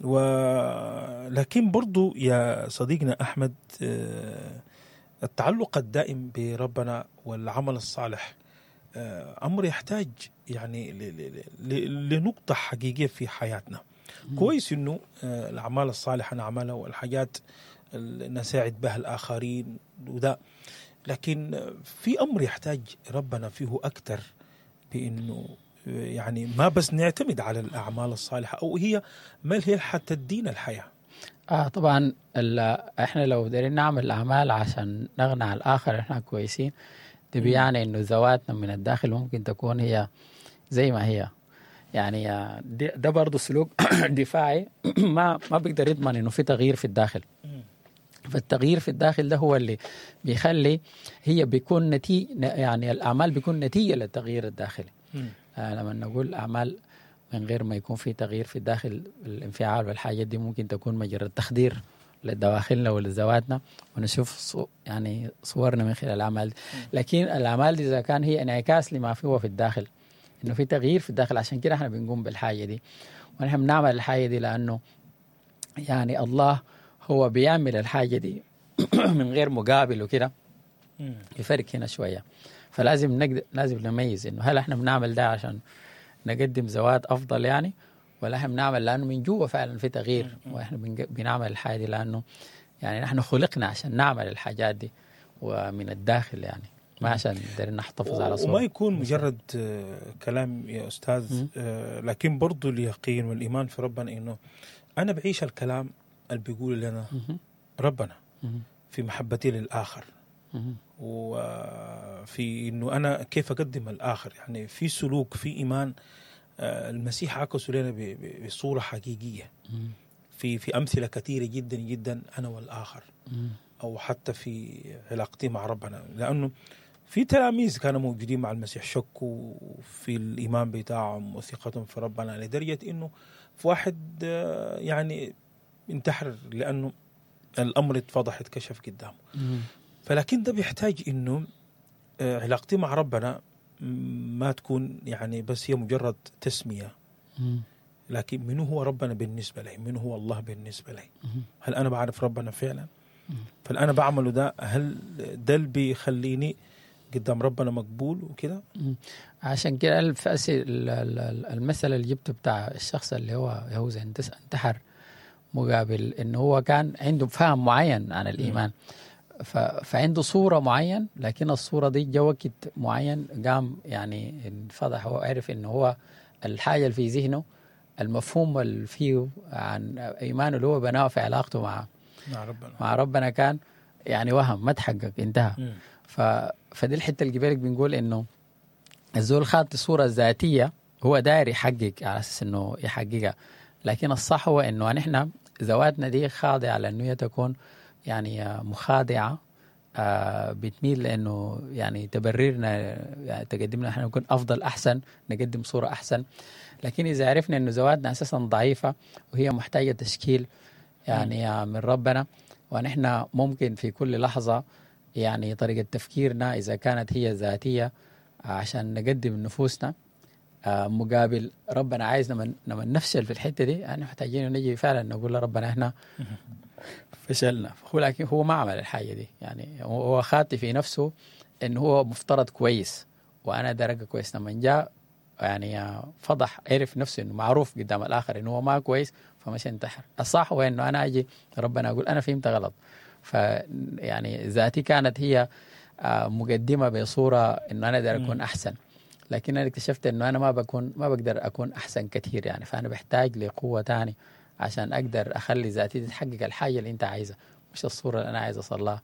ولكن برضو يا صديقنا أحمد، التعلق الدائم بربنا والعمل الصالح أمر يحتاج يعني لنقطة حقيقية في حياتنا. كويس إنه الأعمال الصالحة نعملها والحاجات اللي نساعد بها الآخرين وده، لكن في أمر يحتاج ربنا فيه أكتر، بإنه يعني ما بس نعتمد على الأعمال الصالحة أو هي ما هي حتى تدينا الحياة. طبعا احنا لو دارين نعمل أعمال عشان نغنى على الآخر احنا كويسين، ده بيعني إنه ذواتنا من الداخل ممكن تكون هي زي ما هي يعني. ده برضه سلوك دفاعي ما بيقدر يضمن إنه في تغيير في الداخل. فالتغيير في الداخل ده هو اللي بيخلي هي بيكون نتيجة، يعني الأعمال بيكون نتيجة للتغيير الداخلي. لما نقول أعمال من غير ما يكون في تغيير في الداخل، الانفعال والحاجات دي ممكن تكون مجرد تخدير لدواخلنا ولذواتنا، ونشوف يعني صورنا من خلال الأعمال. لكن الأعمال دي إذا كان هي انعكاس لما فيه في الداخل، إنه في تغيير في الداخل، عشان كده إحنا بنقوم بالحاجة دي، ونحن بنعمل الحاجة دي لأنه يعني الله هو بيعمل الحاجة دي من غير مقابل وكده. الفرق هنا شوية، فلازم لازم نميز إنه هل إحنا بنعمل ده عشان نقدم زوات أفضل يعني، ولا إحنا بنعمل لأنه من جوا فعلا في تغيير، وإحنا بنعمل الحاجة دي لأنه يعني نحن خلقنا عشان نعمل الحاجات دي ومن الداخل، يعني ما عشان نقدر نحتفظ على صورة. وما يكون مجرد كلام يا أستاذ، لكن برضو اليقين والإيمان في ربنا إنه أنا بعيش الكلام اللي بيقول لنا ربنا في محبتي للآخر، وفي إنه أنا كيف أقدم الآخر، يعني في سلوك، في إيمان. المسيح عكسه لنا بصورة حقيقية في أمثلة كثيرة جدا جدا، أنا والآخر، أو حتى في علاقتي مع ربنا. لأنه في تلاميذ كانوا موجودين مع المسيح شكوا في الإيمان بتاعهم وثقتهم في ربنا، لدرجة إنه في واحد يعني انتحر لأنه الأمر اتفضح، اتكشف قدامه. فلكن ده بيحتاج إنه علاقتي مع ربنا ما تكون يعني بس هي مجرد تسمية، لكن منو هو ربنا بالنسبة لي؟ منو هو الله بالنسبة لي؟ هل أنا بعرف ربنا فعلا؟ فالأنا بعمله ده هل ده اللي بيخليني قدام ربنا مقبول وكده؟ عشان كده المثل اللي جبته بتاع الشخص اللي هو يهوذا انتحر، مقابل إنه هو كان عنده فهم معين عن الإيمان، فعنده صورة معين، لكن الصورة دي جا وقت معين قام يعني انفضح، هو عرف إنه هو الحاجة اللي في ذهنه، المفهوم اللي فيه عن إيمانه اللي هو بناه في علاقته مع ربنا كان يعني وهم ما تحقق، انتهى. فدي الحتة اللي قبلك بنقول إنه الزول خاط الصورة الذاتية هو داير يحقق على أساس إنه يحققها، لكن الصح هو إنه نحن ذواتنا دي خاضعة لأنه هي تكون يعني مخادعة، بتميل لأنه يعني تبررنا، يعني تقدمنا نحن نكون أفضل، أحسن، نقدم صورة أحسن. لكن إذا عرفنا إنه ذواتنا أساسا ضعيفة وهي محتاجة تشكيل يعني من ربنا، ونحن ممكن في كل لحظة يعني طريقة تفكيرنا إذا كانت هي ذاتية عشان نقدم نفوسنا مقابل ربنا عايز لما نفشل في الحتة دي، يعني محتاجين نجي فعلا نقول لربنا احنا فشلنا. هو لكن هو ما عمل الحاجة دي، يعني هو خاطي في نفسه إنه هو مفترض كويس وأنا درجة كويس، لما جاء يعني فضح، عرف نفسه إنه معروف قدام الآخر إنه هو ما كويس، فمش انتحر. الصح هو إنه أنا أجي ربنا أقول أنا فهمت غلط، ف يعني ذاتي كانت هي مقدمة بصورة إنه أنا دار أكون أحسن، لكن انا اكتشفت انه انا ما بقدر اكون احسن كثير يعني، فانا بحتاج لقوه تاني عشان اقدر اخلي ذاتي تحقق الحاجة اللي انت عايزها، مش الصورة اللي انا عايز اصلها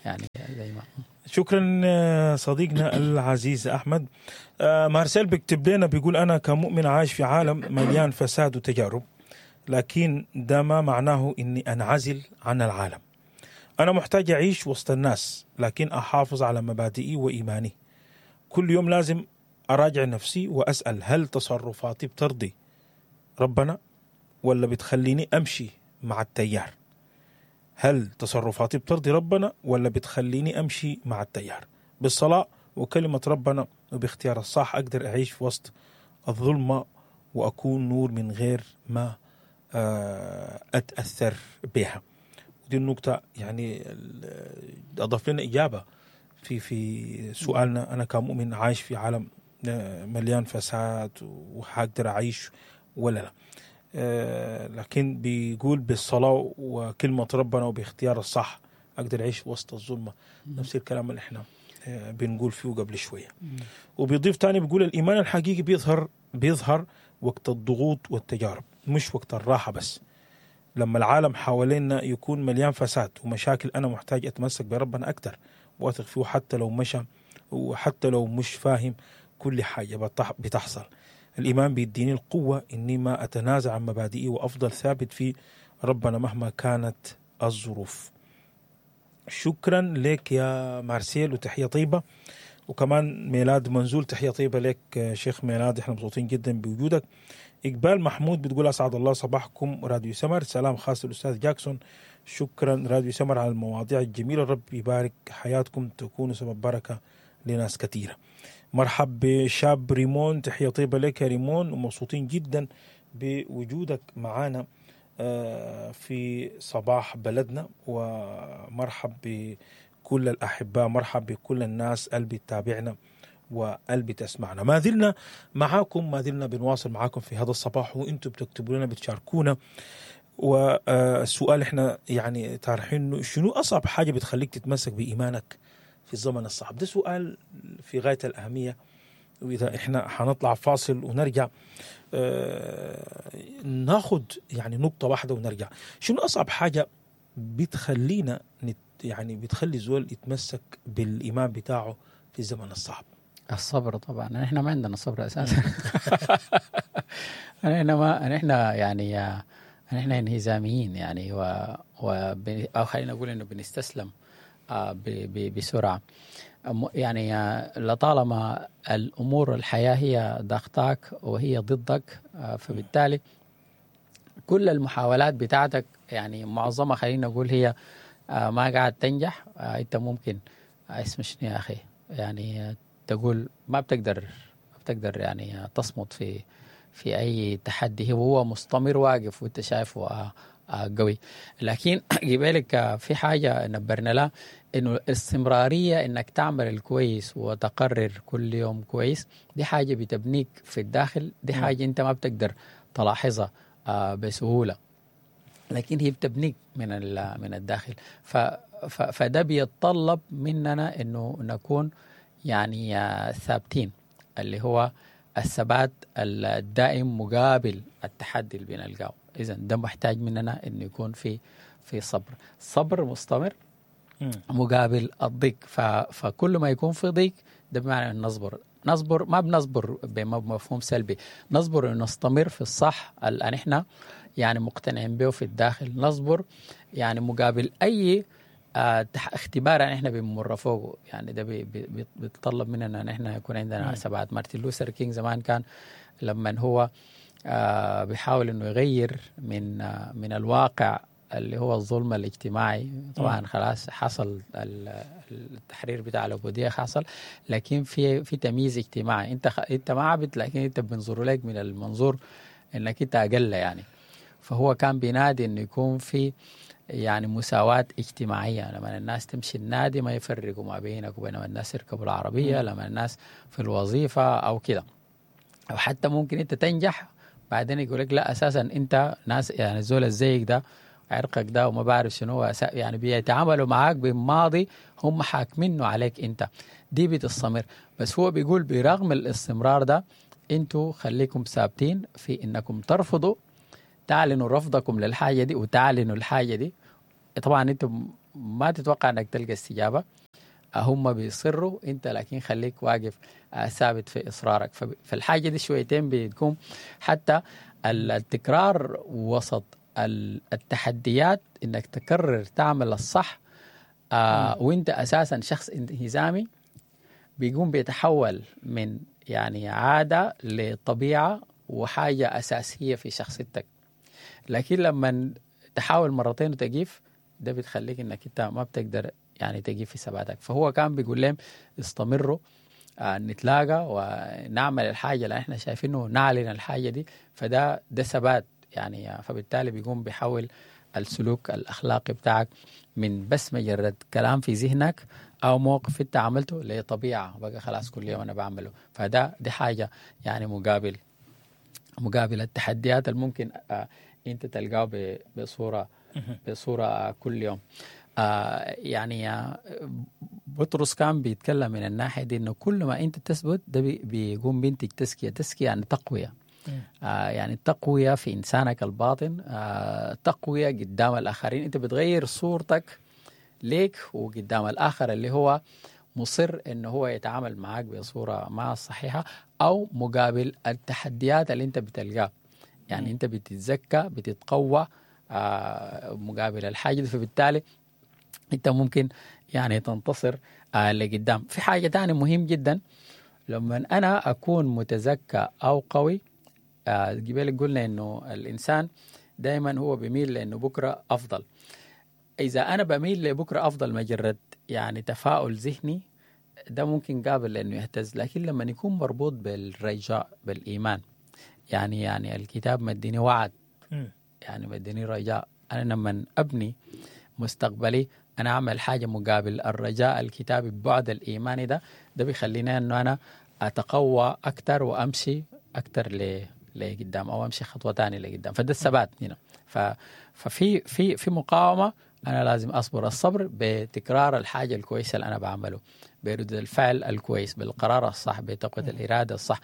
يعني زي ما. شكرا صديقنا العزيز احمد. مارسيل بيكتب لنا بيقول انا كمؤمن عايش في عالم مليان فساد وتجارب، لكن ده ما معناه اني انعزل عن العالم. انا محتاج اعيش وسط الناس، لكن احافظ على مبادئي وايماني. كل يوم لازم اراجع نفسي واسال هل تصرفاتي بترضي ربنا ولا بتخليني امشي مع التيار؟ هل تصرفاتي بترضي ربنا ولا بتخليني امشي مع التيار؟ بالصلاة وكلمة ربنا وباختيار الصح اقدر اعيش في وسط الظلمة واكون نور من غير ما اتأثر بها. ودي النقطة يعني اضاف لنا اجابة في سؤالنا، انا كمؤمن عايش في عالم مليان فساد وحقدر اعيش ولا لا؟ لكن بيقول بالصلاة وكلمة ربنا وباختيار الصح أقدر أعيش وسط الظلمة. نفس الكلام اللي احنا بنقول فيه قبل شوية. وبيضيف تاني بيقول الإيمان الحقيقي بيظهر وقت الضغوط والتجارب، مش وقت الراحة بس. لما العالم حوالينا يكون مليان فساد ومشاكل، أنا محتاج أتمسك بربنا أكتر وأثق فيه حتى لو مشى وحتى لو مش فاهم كل حاجة بتحصل. الإيمان بيديني القوة إني ما أتنازع عن مبادئي وأفضل ثابت في ربنا مهما كانت الظروف. شكرا لك يا مارسيل وتحية طيبة. وكمان ميلاد منزول تحية طيبة لك شيخ ميلاد، احنا مبسوطين جدا بوجودك. إقبال محمود بتقول أسعد الله صباحكم راديو سمر، سلام خاص للأستاذ جاكسون. شكرا راديو سمر على المواضيع الجميلة، رب يبارك حياتكم تكونوا سبب بركة لناس كثيرة. مرحب بشاب ريمون، تحية طيبة لك يا ريمون، ومبسوطين جدا بوجودك معانا في صباح بلدنا. ومرحب بكل الأحباء، مرحب بكل الناس اللي بتتابعنا واللي بتسمعنا. ما زلنا معاكم، ما زلنا بنواصل معاكم في هذا الصباح، وانتم بتكتبوا لنا بتشاركونا. والسؤال احنا يعني طارحينه، شنو أصعب حاجة بتخليك تتمسك بإيمانك في الزمن الصعب؟ ده سؤال في غاية الأهمية. وإذا إحنا حنطلع فاصل ونرجع ناخد يعني نقطة واحدة ونرجع. شنو أصعب حاجة بتخلينا يعني بتخلي زول يتمسك بالإيمان بتاعه في الزمن الصعب؟ الصبر طبعا. نحن ما عندنا صبر أساسا. نحن يعني نحن انهزاميين يعني، أو خلينا نقول إنه بنستسلم بسرعة يعني. لطالما الأمور الحياة هي ضغطاك وهي ضدك، فبالتالي كل المحاولات بتاعتك يعني معظمها خلينا نقول هي ما قاعد تنجح. أنت ممكن اسم شنو يا أخي يعني تقول ما بتقدر يعني تصمت في أي تحدي، وهو مستمر واقف وأنت شايفه قوي. لكن قبالك في حاجة نبرنا لها، إنه الاستمرارية، إنك تعمل الكويس وتقرر كل يوم كويس، دي حاجة بتبنيك في الداخل، دي حاجة أنت ما بتقدر تلاحظها بسهولة، لكن هي بتبنيك من الداخل. فده بيتطلب مننا إنه نكون يعني ثابتين، اللي هو الثبات الدائم مقابل التحدي اللي بنلقاه. إذن ده محتاج مننا إنه يكون في صبر مستمر مقابل الضيق. فكل ما يكون في ضيق ده بمعنى أن نصبر، ما بنصبر بمفهوم سلبي، نصبر أن نستمر في الصح اللي نحن يعني مقتنعين به في الداخل، نصبر يعني مقابل أي اختبار نحن بنمر فوقه. يعني ده بيتطلب مننا نحن يكون عندنا ثبات. مارتن لوثر كينج زمان كان لما هو بيحاول انه يغير من الواقع اللي هو الظلم الاجتماعي، طبعا خلاص حصل التحرير بتاع العبودية حصل، لكن في تمييز اجتماعي، انت ما عبد لكن انت بنظر لك من المنظور انك انت اقل يعني. فهو كان بينادي انه يكون في يعني مساواة اجتماعية، لما الناس تمشي النادي ما يفرقوا ما بينك وبين الناس يركبوا العربية، لما الناس في الوظيفة أو كده، أو حتى ممكن أنت تنجح بعدين يقول لك لا أساسا أنت ناس يعني الزول الزيك ده عرقك ده وما بعرف شنو، يعني بيتعاملوا معاك بماضي هم حاكمينه عليك انت. دي بتستمر. بس هو بيقول برغم الاستمرار ده انتوا خليكم ثابتين في انكم ترفضوا، تعلنوا رفضكم للحاجة دي وتعلنوا الحاجة دي. طبعا انتم ما تتوقع انك تلقى استجابة، هم بيصروا انت، لكن خليك واقف ثابت في اصرارك. فالحاجة دي شويتين بتكون حتى التكرار وسط التحديات، انك تكرر تعمل الصح وانت اساسا شخص انهزامي، بيقوم بيتحول من يعني عادة لطبيعة وحاجة أساسية في شخصيتك. لكن لما تحاول مرتين وتقيف، ده بتخليك انك انت ما بتقدر يعني تقيف في ثباتك. فهو كان بيقول لهم استمروا، نتلاقى ونعمل الحاجة اللي احنا شايفينه، نعلن الحاجة دي. فده ده ثبات يعني. فبالتالي بيقوم بيحول السلوك الأخلاقي بتاعك من بس مجرد كلام في ذهنك أو موقف أنت عملته لطبيعة بقى خلاص كل يوم أنا بعمله. فده دي حاجة يعني مقابل التحديات اللي ممكن أنت تلقاه بصورة كل يوم. يعني بطرس كان بيتكلم من الناحية دي، إنه كل ما أنت تثبت ده بيقوم بينتج تزكية. تزكية يعني تقوية، يعني تقوية في إنسانك الباطن، تقوية قدام الآخرين. أنت بتغير صورتك ليك وقدام الآخر اللي هو مصر إنه هو يتعامل معاك بصورة ما صحيحة، أو مقابل التحديات اللي أنت بتلقاه. يعني أنت بتتزكى، بتتقوى مقابل الحاجة دي، فبالتالي أنت ممكن يعني تنتصر لقدام. في حاجة تانية مهم جدا، لما أنا أكون متزكى أو قوي، قبل قلنا إنه الإنسان دايما هو بيميل لأنه بكرة أفضل. إذا أنا بميل لبكرة أفضل مجرد يعني تفاؤل ذهني، ده ممكن قابل لأنه يهتز. لكن لما يكون مربوط بالرجاء، بالإيمان، يعني الكتاب مديني وعد، يعني مديني رجاء. أنا لما أبني مستقبلي أنا أعمل حاجة مقابل الرجاء الكتابي ببعد الإيماني ده بيخليني أنه أنا أتقوى أكتر وأمشي أكتر لقدام، أو أمشي خطوة تانية لقدام. فده الثبات هنا. ففي في في مقاومة، أنا لازم أصبر. الصبر بتكرار الحاجة الكويسة اللي أنا بعمله، برد الفعل الكويس، بالقرار الصح، بتقوية الإرادة الصح،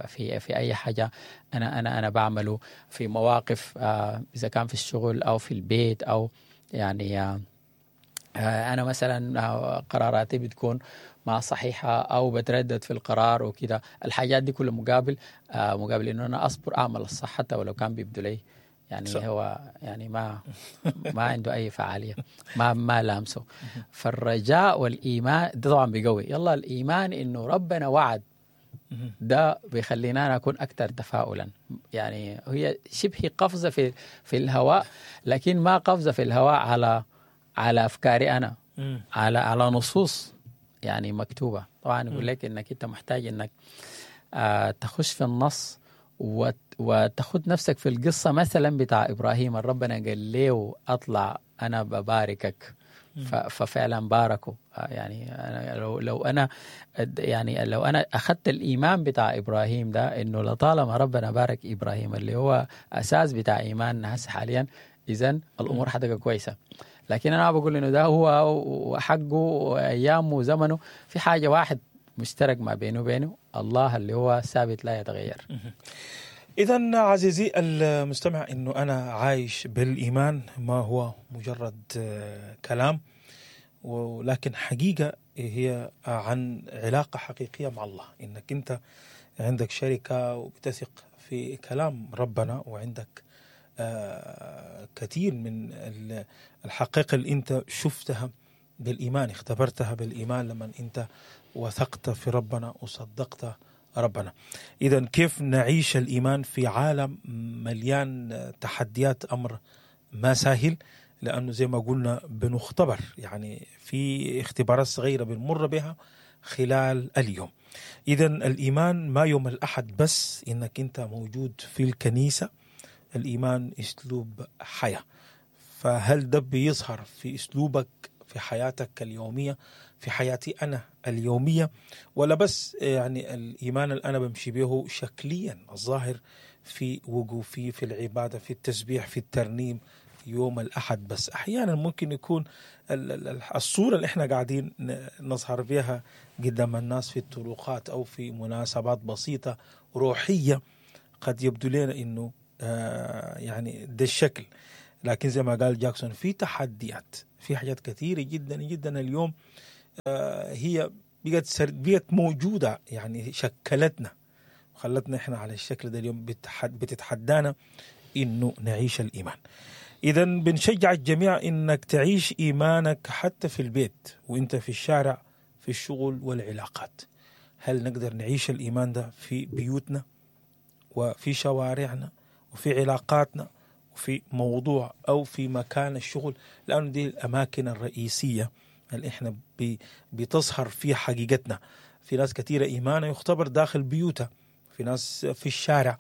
في أي حاجة أنا أنا أنا بعمله، في مواقف، إذا كان في الشغل أو في البيت، أو يعني أنا مثلا قراراتي بتكون ما صحيحة أو بتردد في القرار وكده. الحاجات دي كلها مقابل إنه أنا أصبر، أعمل الصح حتى ولو كان بيبدو لي يعني صح. هو يعني ما عنده أي فعالية، ما لامسه. فالرجاء والإيمان ده طبعا بيقوي. يلا الإيمان إنه ربنا وعد، ده بيخلينا أنا أكون أكثر تفاؤلا. يعني هي شبه قفزة في الهواء، لكن ما قفزة في الهواء على أفكاري أنا، على نصوص يعني مكتوبة. طبعا يقول لك إنك أنت محتاج إنك تخش في النص وتاخد نفسك في القصة مثلا بتاع إبراهيم، ربنا قال له أطلع أنا بباركك، ففعلا باركه. يعني أنا لو أنا يعني لو أنا أخذت الإيمان بتاع إبراهيم ده، إنه لطالما ربنا بارك إبراهيم اللي هو أساس بتاع إيماننا هسه حاليا، إذن الأمور حتبقى كويسة. لكن أنا بقول إنه ده هو وحقه وأيامه وزمنه، في حاجة واحد مشترك ما بينه وبينه الله اللي هو ثابت لا يتغير. إذن عزيزي المستمع، إنه أنا عايش بالإيمان ما هو مجرد كلام، ولكن حقيقة هي عن علاقة حقيقية مع الله، إنك أنت عندك شركة وبتثق في كلام ربنا، وعندك كثير من الحقائق اللي أنت شفتها بالإيمان، اختبرتها بالإيمان لما أنت وثقت في ربنا وصدقت ربنا. إذن كيف نعيش الإيمان في عالم مليان تحديات؟ أمر ما سهل، لأنه زي ما قلنا بنختبر، يعني في اختبارات صغيرة بنمر بها خلال اليوم. إذن الإيمان ما يوم الأحد بس إنك أنت موجود في الكنيسة، الإيمان أسلوب حياة. فهل ده بيظهر في أسلوبك في حياتك اليومية، في حياتي أنا اليومية، ولا بس يعني الإيمان اللي أنا بمشي به شكليا الظاهر في وقوفي في العبادة، في التسبيح، في الترنيم، يوم الأحد بس. أحيانا ممكن يكون الصورة اللي احنا قاعدين نظهر بها قدام الناس في الطرقات أو في مناسبات بسيطة روحية قد يبدو لنا إنه يعني ده الشكل، لكن زي ما قال جاكسون في تحديات، في حاجات كثيرة جدا جدا اليوم هي بقت موجودة، يعني شكلتنا خلتنا احنا على الشكل ده اليوم، بتتحدانا انه نعيش الايمان. اذا بنشجع الجميع انك تعيش ايمانك حتى في البيت وانت في الشارع، في الشغل والعلاقات. هل نقدر نعيش الايمان ده في بيوتنا وفي شوارعنا وفي علاقاتنا وفي موضوع او في مكان الشغل؟ لانه دي الاماكن الرئيسية اللي احنا بتظهر فيها حقيقتنا. في ناس كثيرة ايمانها يختبر داخل بيوتها، في ناس في الشارع،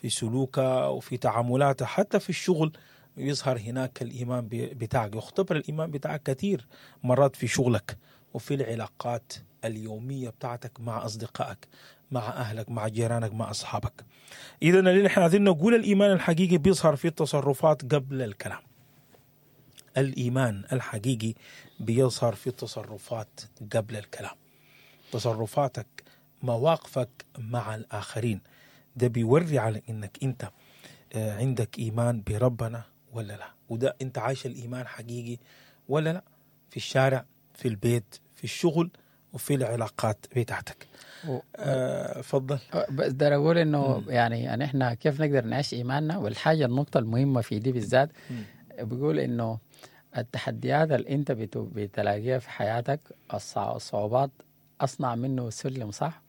في سلوكها وفي تعاملاتها، حتى في الشغل يظهر هناك الإيمان بتاعك، يختبر الإيمان بتاعك كثير مرات في شغلك وفي العلاقات اليومية بتاعتك مع أصدقائك، مع أهلك، مع جيرانك، مع أصحابك. إذا اللي احنا عايزين نقول الإيمان الحقيقي بيظهر في التصرفات قبل الكلام. الإيمان الحقيقي بيظهر في التصرفات قبل الكلام. تصرفاتك، مواقفك مع الآخرين، ده بيوري على إنك أنت عندك إيمان بربنا ولا لا، وده أنت عايش الإيمان حقيقي ولا لا، في الشارع، في البيت، في الشغل، وفي العلاقات بتاعتك. فضل. بس ده أقول إنه يعني إحنا كيف نقدر نعيش إيماننا، والحاجة النقطة المهمة في دي بالذات بيقول إنه التحديات اللي أنت بتلاقيها في حياتك، الصعوبات، أصنع منه سلم صح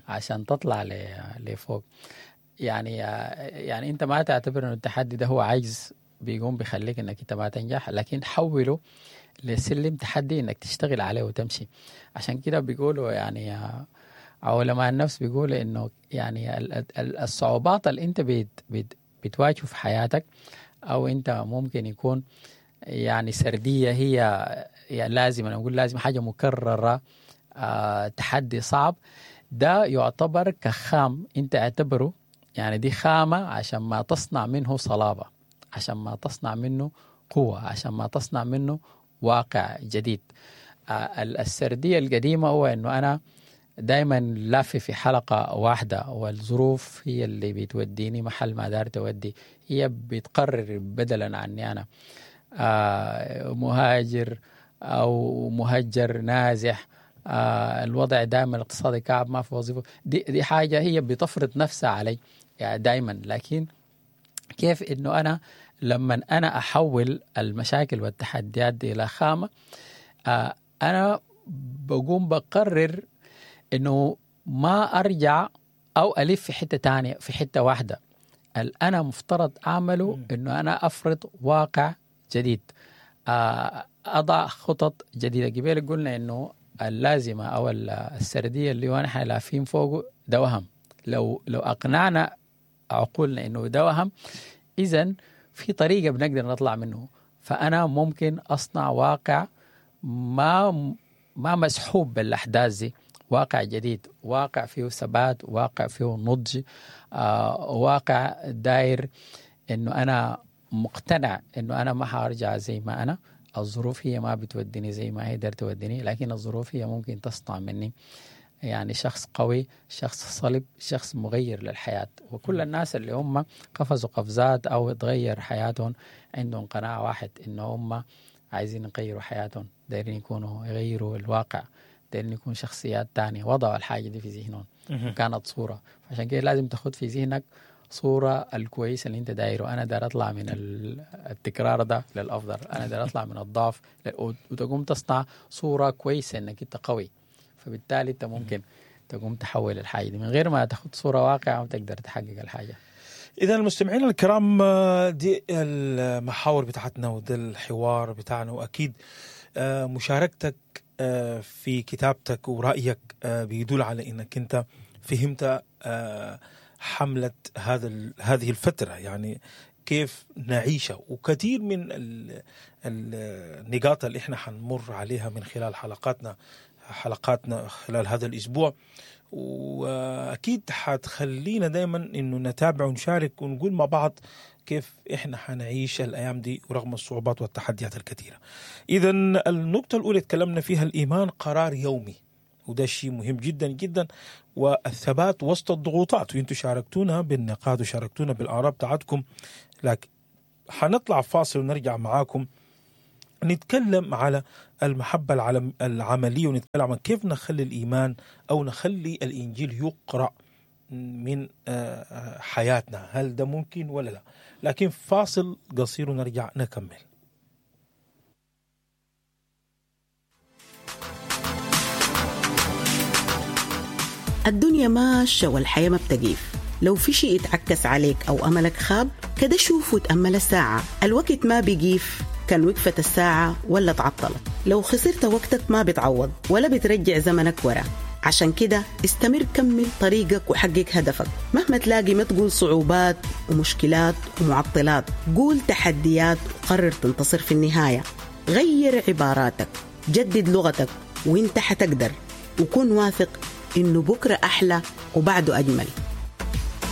عشان تطلع لفوق. يعني انت ما تعتبر انه التحدي ده هو عجز بيقوم بيخليك انك انت ما تنجح، لكن حوله لسلم تحدي انك تشتغل عليه وتمشي. عشان كده بيقولوا يعني علماء النفس بيقولوا انه يعني الصعوبات اللي انت بتواجهه في حياتك، او انت ممكن يكون يعني سردية هي يعني لازم، انا اقول لازم حاجة مكررة، تحدي صعب، ده يعتبر كخام، انت اعتبره يعني دي خامة عشان ما تصنع منه صلابة، عشان ما تصنع منه قوة، عشان ما تصنع منه واقع جديد. السردية القديمة هو انه انا دايما لافي في حلقة واحدة، والظروف هي اللي بتوديني محل ما دار تودي، هي بتقرر بدلا عني انا، مهاجر او مهجر نازح، الوضع دائما الاقتصادي كعب، ما في وظيفة، دي حاجة هي بتفرض نفسها علي يعني دائما. لكن كيف انه انا لما انا احول المشاكل والتحديات دي الى خامة، انا بقوم بقرر انه ما ارجع او الف في حتة تانية، في حتة واحدة. انا مفترض اعمله انه انا افرض واقع جديد، اضع خطط جديدة. قبل قلنا انه اللازمة أو السردية اللي هو نحن لافين فوقه ده وهم. لو أقنعنا عقولنا إنه ده وهم، إذن في طريقة بنقدر نطلع منه. فأنا ممكن أصنع واقع ما مسحوب بالأحداث دي، واقع جديد، واقع فيه ثبات، واقع فيه نضج، واقع داير إنه أنا مقتنع إنه أنا ما هرجع زي ما أنا، الظروف هي ما بتوديني زي ما هي دار توديني، لكن الظروف هي ممكن تصنع مني يعني شخص قوي، شخص صلب، شخص مغير للحياة. وكل الناس اللي هم قفزوا قفزات أو تغير حياتهم عندهم قناعة واحد، إنه هم عايزين يغيروا حياتهم، دايرين يكونوا يغيروا الواقع، دايرين يكون شخصيات تانية. وضعوا الحاجة دي في ذهنهم كانت صورة. عشان كده لازم تاخد في ذهنك صورة الكويسة اللي انت دايرة. انا داير اطلع من التكرار ده للافضل، انا داير اطلع من الضعف، وتقوم تصنع صورة كويسة انك انت قوي. فبالتالي انت ممكن تقوم تحول الحاجة دي من غير ما تاخد صورة واقعة وتقدر تحقق الحاجة. إذا المستمعين الكرام، دي المحاور بتاعتنا وده الحوار بتاعنا، وأكيد مشاركتك في كتابتك ورأيك بيدل على إنك أنت فهمت حملة هذه الفترة، يعني كيف نعيشها، وكثير من النقاط اللي احنا حنمر عليها من خلال حلقاتنا خلال هذا الأسبوع، وأكيد حتخلينا دايما إنه نتابع ونشارك ونقول مع بعض كيف احنا حنعيش الايام دي ورغم الصعوبات والتحديات الكثيرة. اذا النقطة الاولى تكلمنا فيها الايمان قرار يومي، وده شيء مهم جدا جدا، والثبات وسط الضغوطات، وانتم شاركتونا بالنقاط وشاركتونا بالاراء بتاعتكم. لكن حنطلع فاصل ونرجع معاكم نتكلم على المحبة العملية، ونتكلم عن كيف نخلي الإيمان أو نخلي الإنجيل يقرأ من حياتنا، هل ده ممكن ولا لا؟ لكن فاصل قصير ونرجع نكمل. الدنيا ماشية والحياة ما بتقيف. لو في شيء اتعكس عليك أو أملك خاب كده شوف وتأمل الساعة، الوقت ما بيقيف، كان وقفت الساعة ولا تعطلت. لو خسرت وقتك ما بتعوض ولا بترجع زمنك ورا. عشان كده استمر، كمل طريقك وحقق هدفك مهما تلاقي. ما تقول صعوبات ومشكلات ومعطلات، قول تحديات وقرر تنتصر في النهاية. غير عباراتك، جدد لغتك، وانت حتقدر. وكن واثق انه بكرة أحلى وبعده أجمل.